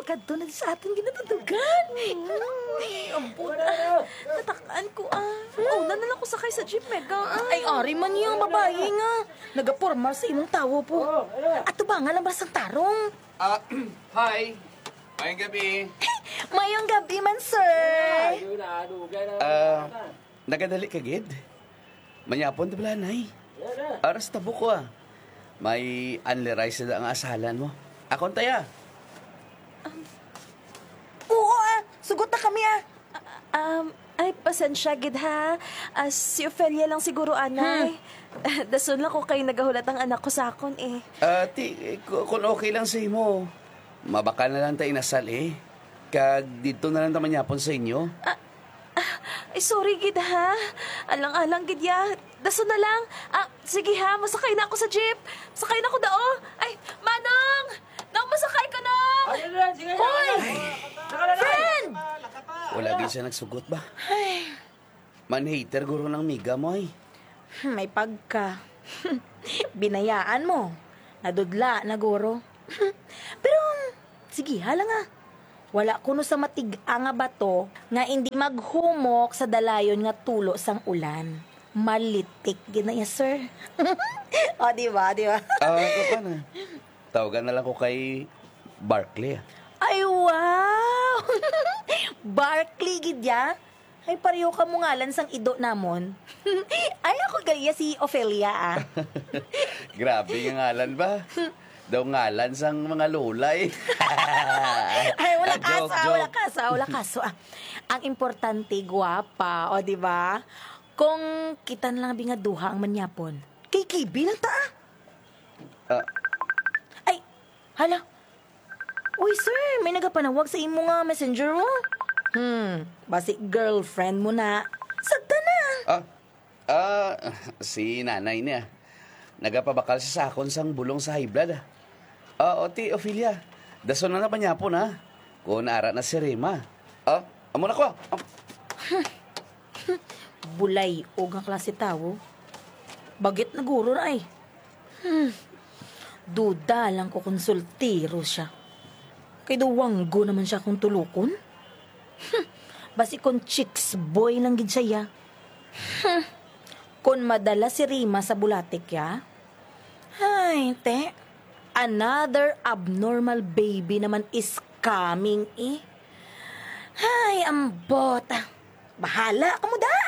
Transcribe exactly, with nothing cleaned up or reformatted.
Kadto na sa aton ginatudugan. Ay, ampon, ah. Natak-an ko, ah. Mauna na lang ko sakay sa jeep, Mega. Ay, ari man yung babayi nga. Nagaporma sa imong tawo po. Ato ba nga lang ba sang tarong? Ah, hi. Mayong gabi. Mayong gabi man, sir. Ah, nagadali ka gid? Manyapon ta bala, nay. Aras ta buko, ah. May unli rice na ang asalan mo. Akon taya. Oo, ah. Sugot na kami, ah. Um, ay, pasensya gid, ha. Ah, si Ofelia lang siguro, anay. Dason lang ko kay nagahulat ang anak ko sa akon, eh. Ah, ti, ku-, kung okay lang sa imo, mabakal na lang ta inasal, eh. Kag didto na lang ta manyapon sa inyo. Ah, ah, ay, sorry gid, ha. Alang-alang gid, ya. Dason na lang. Ah, sige, ha, masakay na ako sa jeep. Sakay na ako dao. Ay, Manong! Nong, masakay ko, Nong! Hoy! Friend! Wala gid siya nagsugot ba? Ay. Man-hater guro ng miga mo, ay. Hmm, may pagka. Binayaan mo. Nadudla na guro. Pero, sige, hala nga. Wala kuno sa matig-a nga bato nga indi maghumok sa dalayon nga tulo sang ulan. Malitik gid na iya, sir. O, di ba? Di ba? Ah, ako pa na. Tawagan na lang ko kay Barkley, ah. Ay, wow! Barkley gid ya? Ay, pareho ka mo ngalan sang ido namon. Ay, ako gali ya si Ofelia, ah. Grabe nga ngalan ba? Daw ngalan sang mga lulay. Ay, wala Ah, joke, kaso, ah, wala joke. kaso, wala kaso, ah. Ang importante, gwapa, o, di ba? Kung kita na lang bi nga duha ang manyapon, K K B lang ta, ah. Ah. Ay, hala. Uy, sir, may nagapanawag sa imo nga messenger, oh. Hmm, basi girlfriend mo na. Sagta na. Ah, ah, si nanay niya. Nagapabakal siya sa akon sang bulong sa high blood, ah. Ah, o, ti Ophelia, dason na na manyapon, ha? Kung ara na si Rima. Ah, amo na ko, ah. Bulay-og nga klase tawo. Bagit na guro na, ay. Hmm. Duda lang ko kung soltero siya. Kay daw wanggo naman siya kung tulukon. Hmm. Basi kung chicks boy lang gid siya, ya. Hmm. Kung madala si Rima sa bulatik, ya. Ay, te. Another abnormal baby naman is coming, eh. Ay, ambot. Bahala ka mo, da.